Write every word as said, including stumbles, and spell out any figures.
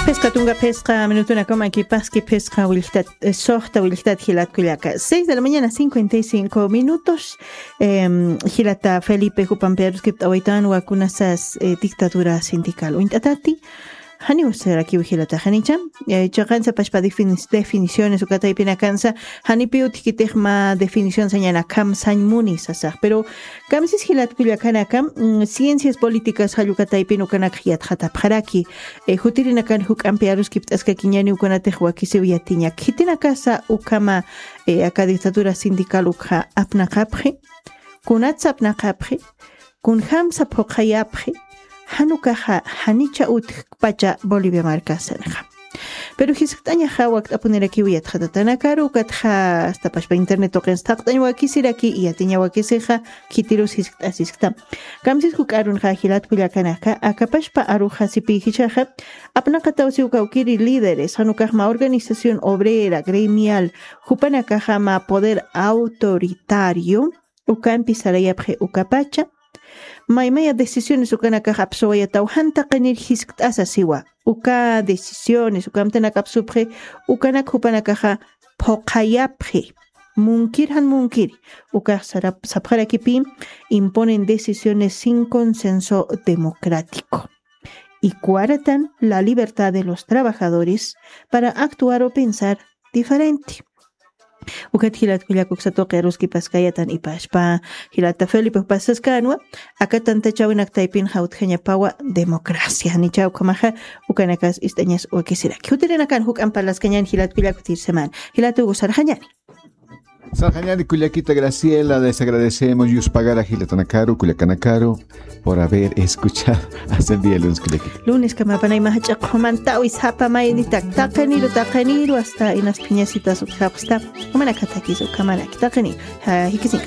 Phisqa tunka phisqa minutunakama kipaski phisqa willktat, eh, suxta willktat jilat kullaka. Seis de la mañana, cincuenta y cinco minutos. Em, jilata Felipe, jupampi aruskipt'awaytanwa kunasas, eh, dictadura sindical uñt'atati. Janiw sarakiw jilata janicha. Eh, chiqansa pachpa defini-, definiciones uka taypinakansa, janipiw utjkitix mä definición sañanakham sañ muni sasax. Pero kamsis jilat kullakanaka, mm, ciencias políticas jall uka taypin ukanak yatxatapxaraki. Eh, jutirinakan juk'ampi aruskipt'askakiñani ukanatix wakisiw yatiñak. Khitinakasa ukhama, eh, aka dictadura sindical ukxa apnaqapxi, kunatsa apnaqapxi, kunjamsa phuqhayapxi, jan ukaxa janicha utjkpacha Bolivia markasinxa. Pero jiskt'añaxa wakt'apunirakiw yatxatatanakaru, ukatxa hasta pachpa internet tuqinsa thaqt'añ wakisiraki, yatiña wakisixa, khitirus jiskt'asiskta. Kamsis juk'arunxa jilat kullakanaka, aka pachpa aruxa sipïjichaxa, apnaqatawsiw kawkiri líderes, jan ukax mä organización obrera, gremial, jupanakaxa mä poder autoritario, ukampi sarayapxi ukapacha, maymaya decisiones ukanakax apsuwayataw jan taqinir jiskt'asa siwa. Uka decisiones, uka amtanak apsupxi, ukanak jupanakaxa phuqhayapxi. Munkir jan munkir, ukax sarap-, sapxarakipï, imponen decisiones sin consenso democrático. Y coartan la libertad de los trabajadores para actuar o pensar diferente. Ukat jilat kullaka uksa tuqi aruskipaskayatan ipashpa, jilata Felipe jupasaskanwa, aka tantachäwinak taypinxa utjañapawa democracia. Janicha ukhamaxa, ukanakas ist'añas wakisiraki. Jutirinakan juk'amp parlaskañäni jilat kullaka jutir semana. Jilata Hugo sarxañäni. Sarxañäni kullakita Graciela, les agradecemos, yuspagara jilatanakaru, kullakanakaru, por haber escuchado hasta el día lunes, kullakita. Lunes kamapanaymá jach'a qhumantawi sapa maynitak, taqiniru, taqiniru, hasta inas phiñasitas utjapxsta, jumanakatakis ukhamaraki, taqiniru, ja, jikisiñka.